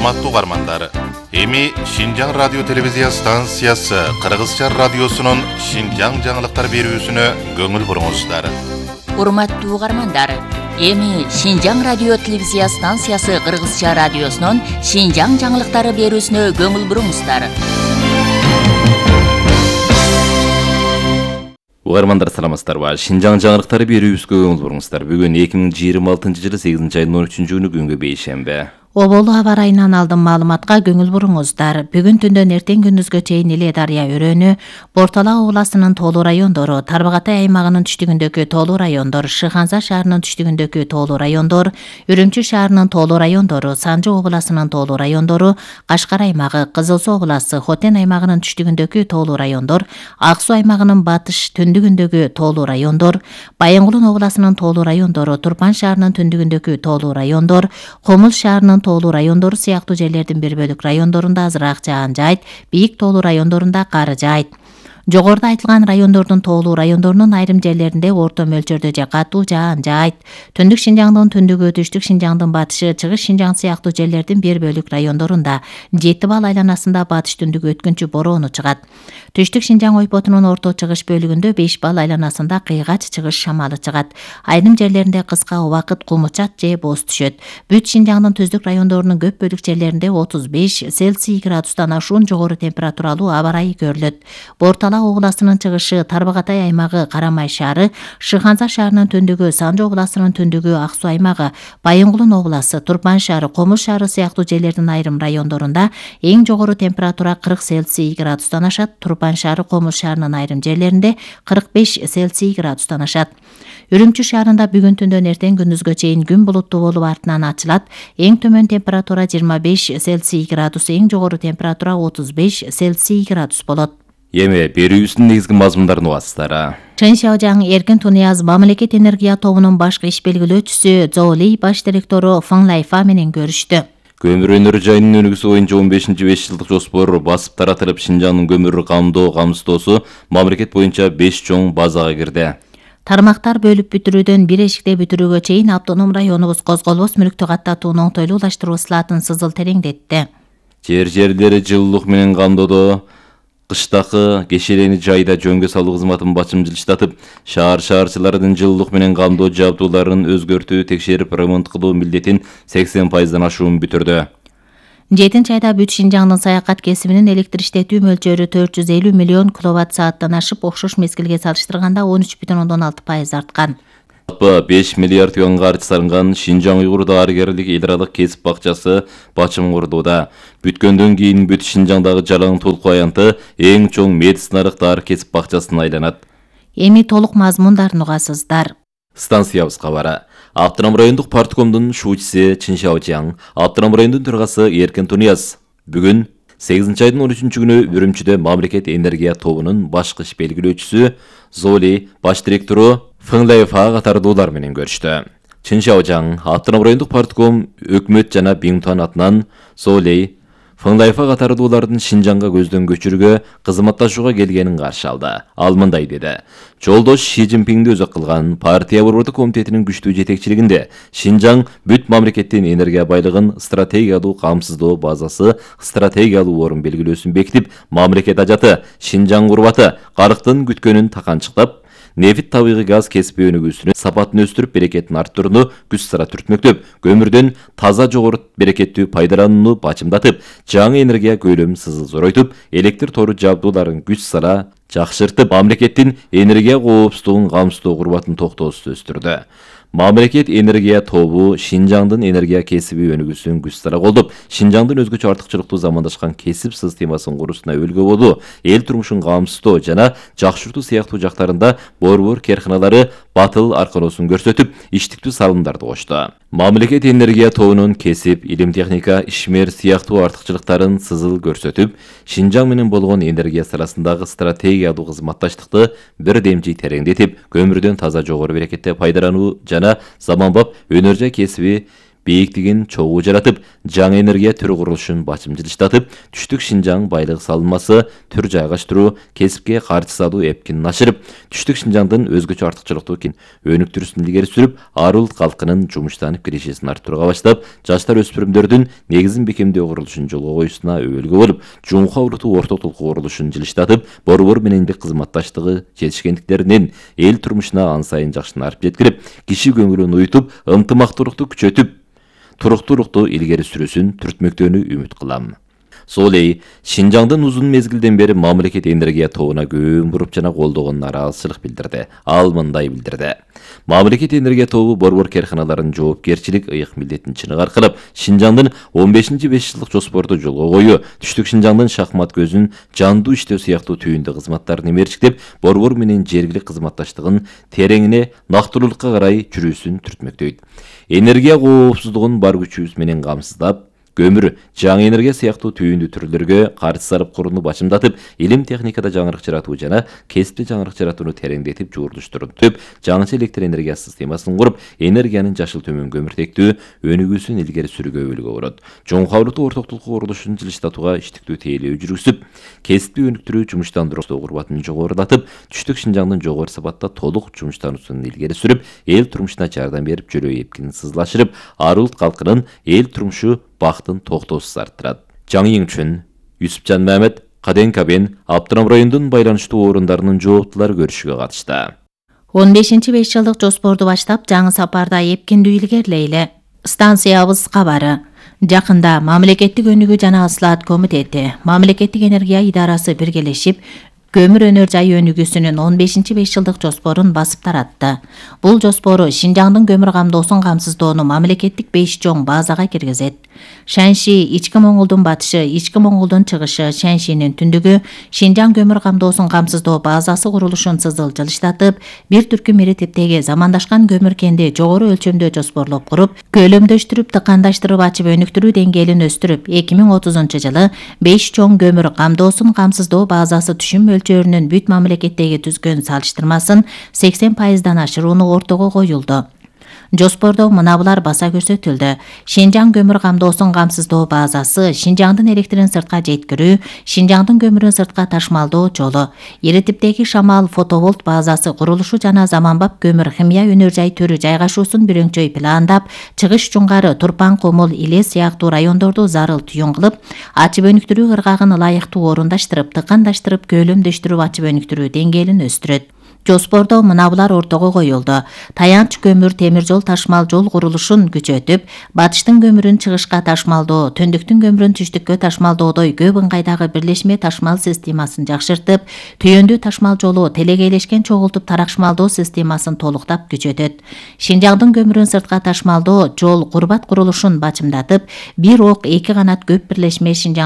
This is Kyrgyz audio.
Урматтуу угармандар, эми Шинжаң радио телевизия станциясы Кыргызча радиосунун Шинжаң жаңылыктар берүүсүнө көңүл буруңуздар. Урматтуу угармандар, эми Шинжаң радио телевизия станциясы Кыргызча радиосунун Шинжаң жаңылыктары берүүсүнө көңүл буруңуздар. Угармандар саламатсыздарбы? Шинжаң жаңылыктары берүүбүзгө көңүл буруңуздар. Бүгүн 2026-жылы 8-айдын 13-күнү күнгө бейшемби. Оболу аба ырайынан алдын маалыматка көңүл буруңуздар. Бүгүн түндөн эртең күндүзгө чейин Иле Дарыя өрөөнү, Бортала областынын тоолуу райондору, Тарбагатай аймагынын түштүгүндөгү тоолуу райондор, Шыханза шаарынын түштүгүндөгү тоолуу райондор, Үрүмчү шаарынын тоолуу райондору, Санжы областынын тоолуу райондору, Кашкар аймагы, Кызыл Суу областы, Хотен аймагынын түштүгүндөгү тоолуу райондор, Ак Суу аймагынын батыш түндүгүндөгү тоолуу райондор, Байынгулун областынын тоолуу райондору, Турпан шаарынын түндүгүндөгү тоолуу райондор, Комул шаарынын тоолуу райондору сыяктуу жерлердин бир бөлүк райондорунда азыраак жаан жайт, бийик тоолуу райондорунда кар жайт. Жогоруда айтылган райондордун тоолуу райондорунун айрым жерлеринде орто мөлчөрдө же катуу жаан жайт. Түндүк Шинжаңдын түндүгү, түштүк Шинжаңдын батышы, чыгыш Шинжаң сыяктуу жерлердин бир бөлүк райондорунда 7 балл айланасында батыш түндүк өткүнчү бороону чыгат. Түштүк Шинжаң ойпотунун орто чыгыш бөлүгүндө 5 балл айланасында кыйгач чыгыш шамалы чыгат. Айрым жерлеринде кыска убакыт кумучат же боз түшөт. Бүт Шинжаңдын түздүк райондорунун көп бөлүк жерлеринде 35 Цельсий градустан ашуун жогору температуралуу аба ырайы көрүлөт. Бортала областынын чыгышы, Тарбагатай аймагы, Карамай шаары, Шыханза шаарынын түндүгү, Санжы областынын түндүгү, Ак Суу аймагы, Байынгулун областы, Турпан шаары, Комул шаары сыяктуу жерлердин айрым райондорунда эң жогору температура 40 Цельсий градустан ашат. Турпан шаары, Комул шаарынын айрым жерлеринде 45 Цельсий градустан ашат. Үрүмчү шаарында бүгүн түндөн эртең күндүзгө чейин күн булуттуу болуп артынан ачылат. Эң төмөн температура 25 Цельсий градус, эң жогору температура 35 Цельсий градус болот. Эми берүүбүздүн негизги мазмундарын угасыздар. Чын Шаожаң Эркин Тунияз мамлекет энергия тобунун башкы иш белгилөөчүсү Золи баш директору Фeng Лайфа менен көрүштү. Көмүр өнөрү жайынын өнүгүүсү боюнча 15-5 жылдык жоспор басып таратылып, Шинжаңдын көмүр камсыздоосу мамлекет боюнча 5 чоң базага кирди. Тармактар бөлүп бүтүрүүдөн бир эшикте бүтүрүүгө чейин автоном районубуз козголбос мүлктү каттатууну оңтойлуулаштыруу ысылатын сызыл тереңдетти. Жерлери жылуулук менен камдоодо кыштакы кешелени жайда жөнгө салуу кызматын бачымчылыштатып, шаарчылардын жылуулук менен камдоо жабдууларын өзгөртүү, текшерип, ремонт кылуу милдетин 80% ашуун бүтүрдү. 7 айда бүт Шинжаңдын саякат кесибинин электр иштетүү мөлчөрү 450 миллион киловатт-сааттан ашып, окшош мезгилге салыштырганда 13,6% арткан. 5 миллиард юанга арчы салынган Шинжаң уйгур дарыгерлик эл аралык кесип бакчасы бачым курдууда. Бүткөндөн кийин бүт Шинжаңдагы жалаң толку аянты эң чоң медициналык дары кесип бакчасына айланат. Эми толук мазмундарын угасыздар. Станциябыз кабары. Автоном райондук парткомдун шуучусы Чын Шаожаң, автоном райондун төрагасы Эркин Тунияз бүгүн 8-айдын 13-күнү Үрүмчүдө мамлекет энергия тобунун башкы иш белгилөөчүсү Золи баш директору Фeng Лайфа катардуулар менен көрүштү. Чын Шаожаң, автоном райондук партком өкмөт жана Биңтуан атынан Золи Фeng Лайфа катардуулардын Шинжаңга көздөн көчүрүүгө кызматташууга келгенин каршы алды. Ал мындай деди: Жолдош Ши Цзиньпинди өзү кылган партия борбордук комитетинин күчтүү жетекчилигинде Шинжаң бүт мамлекеттин энергия байлыгын стратегиялуу камсыздоо базасы стратегиялуу орун белгилөөсүн бекитип, мамлекет ажаты Шинжаң курбаты карыктын күткөнүн таканчыктап, нефт табигый газ кесип өнүгүүсүнүн сапатын өстүрүп, берекетин арттырууну күч сара түртмөктөп, көмүрдөн таза жогору берекеттүү пайдаланууну бачымдатып, жаңы энергия көлөмүн зоройтуп, электр тору жабдууларын күч сара жакшыртып, мамлекеттин энергия коопсуздугун камсыздоо курбатын токтоосун өстүрдү. Мамлекет энергия тобу Шинжаңдын энергия кесиби өнүгүүсүн күч сара колдоп, Шинжаңдын өзгөчө артыкчылыктуу замандашкан кесип системасын куруусуна өлгө болуу, эл турмушун камсыздоо жана жакшыртуу сыяктуу жактарында борбор керканалары батыл арканоосун көрсөтүп, иштиктүү салымдарды кошту. Мамлекет энергия тобунун кесип, илим техника, ишмер сыяктуу артыкчылыктарын сызыл көрсөтүп, Шинжаң менен болгон энергия саласындагы стратегиялуу кызматташтыкты бир демчи тереңдетип, көмүрдөн таза жогору берекетте пайдалануу жана заманбап өнөр жай кесиби бийиктигин чогуу жаратып, жаңы энергия түрү курулушун бачым жылыштатып, түштүк Шинжаң байлык салынмасы түр жайгаштыруу, кесипке каршы салуу эпкинин ашырып, түштүк Шинжаңдын өзгөчө артыкчылыктуу өнүктүрүүсүн илгери сүрүп, ар улут калкынын жумуштанып киришесин арттырууга баштап, жаштар өспүрүмдөрдүн негизин бекемдөө курулушун жолго коюусуна өбөлгө болуп, Жумха улуту орто толку курулушун жылыштатып, борбор менен кызматташтыгы жетишкендиктеринин эл турмушуна ан сайын жакшынарып жеткирип, киши көңүлүн уютуп, ынтымактуулукту күчөтүп, туруктуулукту илгери сүрүүсүн түртмөктөөнү үмүт кылам. Сол эле Шинжаңдын узун мезгилден бери мамлекет энергия тобуна көң буруп жана колдогон нараазычылык билдирди. Ал мындай билдирди. Мамлекет энергия тобу борбор керканаларынын жоопкерчилик ыйык милдетин чыныгы аркылап, Шинжаңдын 15-5 жылдык жоспорду жолго коюу, түштүк Шинжаңдын шахмат көзүн жандуу иштөө сыяктуу түйүндү кызматтарын эмерчиктеп, борбор менен жергилик кызматташтыгын тереңине, нактылуулукка карай жүрүүсүн түртмөктөйт. Энергия коопсуздугун бар күчүбүз менен камсыздап, көмүр, жаңы энергия сыяктуу түйүндү түрлөргө каршы сарып курууну бачымдатып, илим техникада жаңырык жаратуу жана кесипте жаңырык жаратууну тереңдетип, жуурдуштуруп, жаңыча электр энергия системасын куруп, энергиянын жашыл төмөн көмүртектүү өнүгүүсүн илгери сүрүүгө өбөлгө болот. Жумха улуту ортоктулук курулушун жылыштатууга иштиктүү тейлөө жүргүзүп, кесипти өнүктүрүү жумуштандыруу курбатын жогорулатып, түштүк Шинжаңдын жогору сапатта толук жумуштануусун илгери сүрүп, эл турмушуна жардам берип, жөрөө эпкинин сызлашырып, ар улут калкынын эл турмушу бактын токтоосуз арттырат. Жаңы үчүн Юсупжан Мамед, Каден Кабен, Аптырам районунун байланыштуу орундарынын жооптулары көрүшүгө катышты. 15-5 жылдык жоспорду баштап, жаңы сапарда эпкиндүү илгерилейли. Станциябыз кабары. Жакында Мамлекеттик өнүгүү жана ыслаат комитети, Мамлекеттик энергия идарасы биргелешип, көмүр өнөр жай өнүгүүсүнүн 15-5 жылдык жоспорун басып таратты. Бул жоспору Шинжаңдын көмүр камдоосун камсыздоону мамлекеттик 5 чоң базага киргизет. Шанши, ички Моңголдун батышы, ички Моңголдун чыгышы, Шаншинин түндүгү Шинжаң көмүр камдоосун камсыздоо базасы курулушун сызыл жылыштатып, бир түркүм ири типтеги замандашкан көмүр кенди жогору өлчөмдө жоспорлоп куруп, көлөмдөштүрүп, тыкандаштырып ачып өнүктүрүү деңгээлин өстүрүп, 2030-жылы 5 чоң көмүр камдоосун камсыздоо базасы түшүм мөлчөрүнүн бүт мамлекеттеги түзгөн салыштырмасын 80%дан ашырууну ортого коюлду. Жоспордо мына булар баса көрсөтүлдү. Шинжаң көмүр камдоосун камсыздоо базасы, Шинжаңдын электрин сыртка жеткирүү, Шинжаңдын көмүрүн сыртка ташмалдоо жолу, ири типтеги шамал фотоволт базасы курулушу жана заманбап көмүр химия өнөр жай түрү жайгашуусун бирөңчөй пландап, чыгыш Чуңгары, Турпан, Комул, Иле сыяктуу райондорду зарыл түйүн кылып, ачып өнүктүрүү ыргагын ылайыктуу орундаштырып, тыкандаштырып, көлөмдөштүрүп ачып өнүктүрүү деңгээлин өстүрөт. Жоспордо мына булар ортого коюлду. Таянч көмүр темир жол ташмал жол курулушун күчөтүп, батыштын көмүрүн чыгышка ташмалдоо, төндүктүн көмүрүн түштүккө ташмалдоодой көп ыңгайдагы бирлешме ташмал системасын жакшыртып, түйөндүү ташмал жолу телегейлешкен чогултуп таракшмалдоо системасын толуктап күчөтөт. Шинжаңдын көмүрүн сыртка ташмалдоо жол курбат курулушун бачымдатып, бир ок эки канат көп бирлешме Шинжаң